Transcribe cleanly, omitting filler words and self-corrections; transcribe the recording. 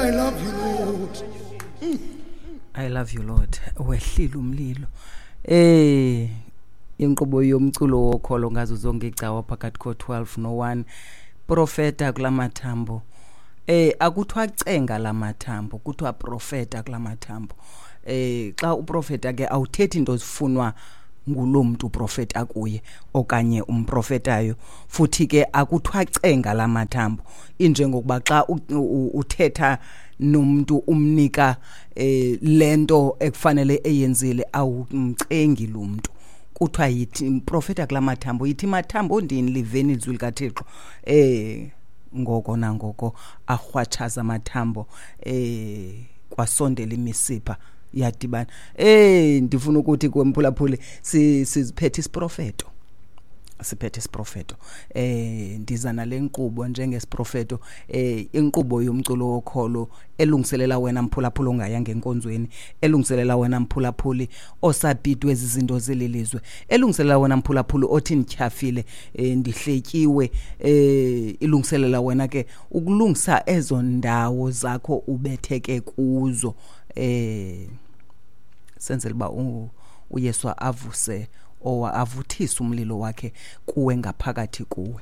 I love you, Lord. I love you, Lord. Wehlile umlilo. Inkqubo yomculo wokholo ngazo zonke icawa phakathi ko-12 no-1. Profeta kulamathambo. Akuthiwa cenga lamathambo, kuthiwa profeta kulamathambo. Xa uprofeta ke awuthethi into zifunwa ngulo mntu uprofeta kuye okanye umprofetayo, futhi ke akuthiwa cenga lamathambo. Injengokuba xa uthetha nomuntu umnika lento ekufanele eyenzile, awumcengi lo mntu. Kuthiwa yithi profeta kulamathambo, yithi mathambo ndini liveni izwi likaThixo. Ngoko nangoko arhwatshaza amathambo, kwasondela imisipha yadibana. Ndifuna ukuthi kwemphulaphuli siziphethe isiprofeto. Siphethe isiprofeto. Ndiza nale nkqubo njengesiprofeto, inkqubo yomculo wokholo elungiselela wena mphulaphuli ongayanga enkonzweni, elungiselela wena mphulaphuli osabhidwe ezi zinto zelilizwe, elungiselela wena mphulaphuli othi ndityhafile, ndihletyiwe, ilungiselela wena ke ukulungisa ezo ndawo zakho ubetheke kuzo, senzele uba uYesu avuse owa avuthise umlilo wakhe kuwe ngaphakathi kuwe.